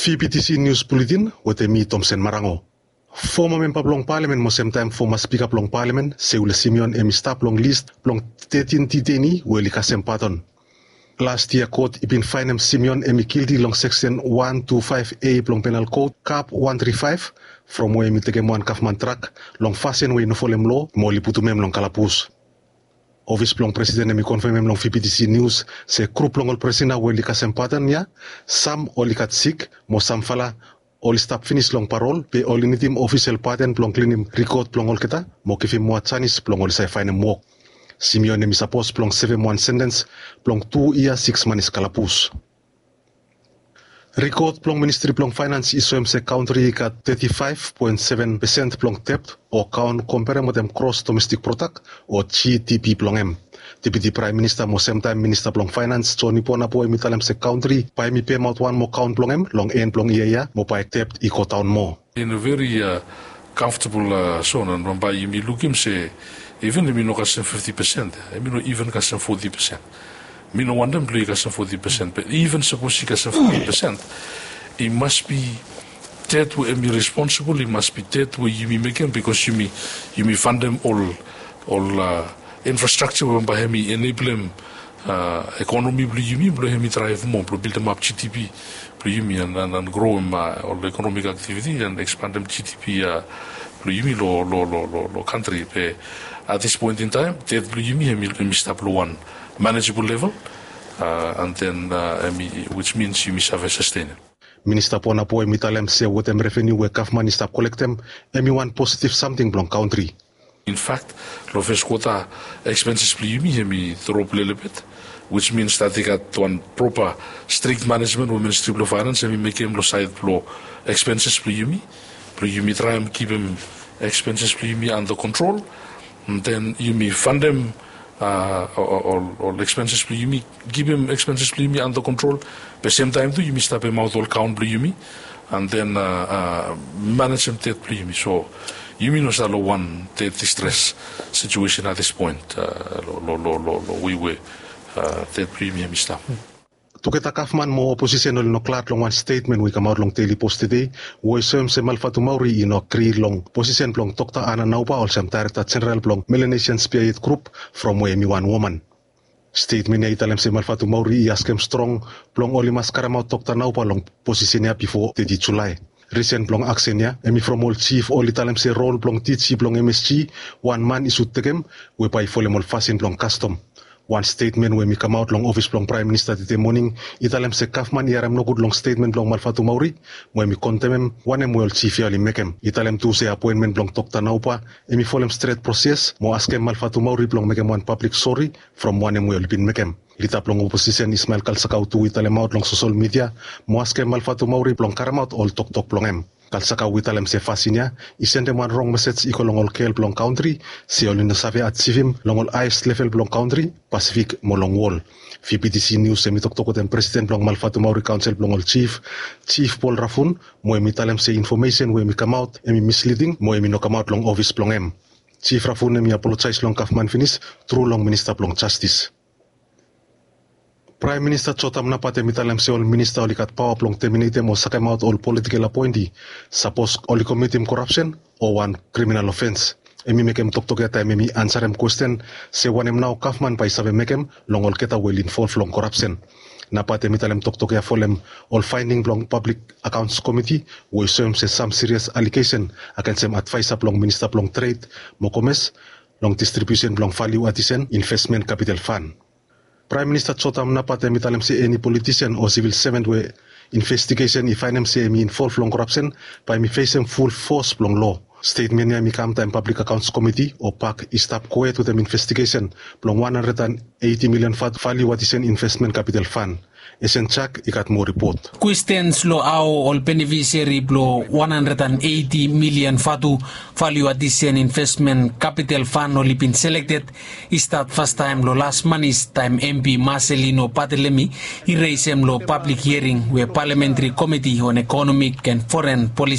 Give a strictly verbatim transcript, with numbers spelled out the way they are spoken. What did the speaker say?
Fibitisi nius buletin wetem mi, Tomsen Marango. Foma memba blong palamen mo semtaem foma spika blong palamen, Seule Simeon, hem i stap long lis blong tetin diteini we oli kasem padon. Las yia kot i bin faenem Simeon hem i gilti long seksen wan tu faef A blong penal kot kap wan tri faef, from we hem i tekem wan gavman drak long fasin we i no folem loa mo oli putum hem long kalabus. Ofis blong presiden hem i konfemem long Fibitisi nius se grup blong ol prisina we oli kasem padon ya, sam oli gat sik mo samfala oli stap finis long parol, be oli nidim ofisel padon blong klinim rikot blong olgeta mo givim moa janis blong oli save faenem wok. Simeon hem i sapos blong sevem wan sentens blong tu yia siks manis kalabus. Rikot blong Ministri blong Faenans i soem se kantri i gat teti faef poen seven pesen blong debt o kaon komperem wetem gros domestik prodak o G D P blong hem. Deputi Praem Minista mo semtaem Minista blong Faenans, Joni Ponabo, hem i talem se kantri bae hem i pemaot wan moa kaon blong hem long en blong yia ya mo bae debt i godaon moa. In a very uh, comfortable uh, zone, and bambae yumi lukim se even yumi no kasem fifti pesen, yumi no even kasem foti pesen. Mi no wantem blong i kasem foti pesen, be even sapos i kasem foti pesen, i mas bi debt we yumi responsible, i mas bi debt we yumi mekem, bikos yumi yumi fantem ol ol uh, infrastructure we bambae hem i eneblem uh, ekonomi blong yumi blong hem i draev moa blong bildemap G D P blong yumi and, and, and growem uh, ol economic activity and expandem G D P uh, blong yumi lo, lo, lo, lo, lo kantri. Be at this point in time, debt blong yumi hem i hem i stap lo wan manageable level uh, and then uh, hem i, which means yumi save sustainem. Minista Ponabo hem i talem se wetem revenu we gavman i stap kolektem, hem i wan positiv samting blong kantri. In fact, lo fes kwota expenses blong yumi hem i drop lelebet, which means that i gat wan propa strict management we Ministri blong Faenans hem i mekem lo saed blo expenses blong yumi, blong yumi traem kipim expenses blong yumi under control, and then yumi fantem uh, ol, ol expenses blong yumi, kipim expenses blong yumi under control. Be semtaem tu yumi stap pemaot ol kaon blong yumi and then uh, uh, manejem debt blong yumi. So yumi no stap lo wan debt distress situation at this point uh, lo, lo, lo, lo, lo we we uh, debt blong yumi hem i stap. Tugeta gavman mo oposisen oli no glad long wan stetmen we i kamaot long Daily Post tede, we i soem se Malvatumauri i no agri long posisen blong Dokta Ana Nauba olsem Daerekta Jeneral blong Melanesian Spearhead Group, from we hem i wan woman. Stetmen ya i talem se Malvatumauri i askem strong blong oli mas karemaot Dokta Nauba long posisen ya bifo teti Julae. Risen blong aksen ya hem i from ol jif oli talem se rol blong D G blong M S G wan man i sud tekem, we bae i folem ol fasin blong kastom. Wan stetmen we hem i kamaot long ofis blong Praem Minista tede moning i talem se gavman i harem nogud long stetmen blong Malvatumauri, mo hem i kondemem wanem we ol jif ya oli mekem. I talem tu se apoenmen blong Dokta Nauba hem i folem stret proses mo askem Malvatumauri blong mekem wan pablik sori from wanem we oli bin mekem. Lida blong oposisen Ismael Kalsakau tu i talemaot long sosol midia mo askem Malvatumauri blong karemaot ol toktok blong hem. Kalsakau i talem se fasin ya i sendem wan rong mesej i go long ol gel blong kantri se oli no save ajivim long ol haes level blong kantri, Pasifik mo long wol. Fibitisi nius hem i toktok wetem presiden blong Malvatumauri Kaonsel blong ol Jif, Jif Paul Rafun, mo hem i talem se infomesen we hem i kamaot hem i misliding mo hem i no kamaot long ofis blong hem. Jif Rafun hem i apolojaes long gavman finis tru long Minista blong Jastis. Praem Minista Jotam Napat hem i talem se ol minista oli gat paoa blong teminetem o sakemaot ol politikel apoenti sapos oli komitim korapsen o wan kriminal ofens. Hem i mekem toktok ya taem hem i ansarem kwesten se wanem nao gavman bae i save mekem long olgeta we oli involv long korapsen. Napat hem i talem toktok ya folem ol faending blong Pablik Akaons Komiti we i soem se sam sirias alegesen agensem advaesa blong Minista blong Tred mo Komes long distribiusen blong valiu adisen investmen kapital fan. Praem Minista Jotam Napat hem i talem se eni politisen o sivil seven we investigesen i faenem se hem i involv long korapsen bae hem i fesem ful fos blong loa. Stetmen ya hem i kam taem Pablik Akaons Komiti o pak i stap gohed wetem investigesen blong wan handred an eiti milian vatu valiu adisen investmen kapital fan. Esen Jak i gat moa ripot. Kwestens long hao ol benefiseri blong wan handred an eiti milian vatu valiu adisen investmen kapital fan oli bin selekted i stat fastaem long las manis taem M P Marcelino Barthelemy i resem long pablik hiering we Palamentri Komiti on Ekonomik an Foren Polisi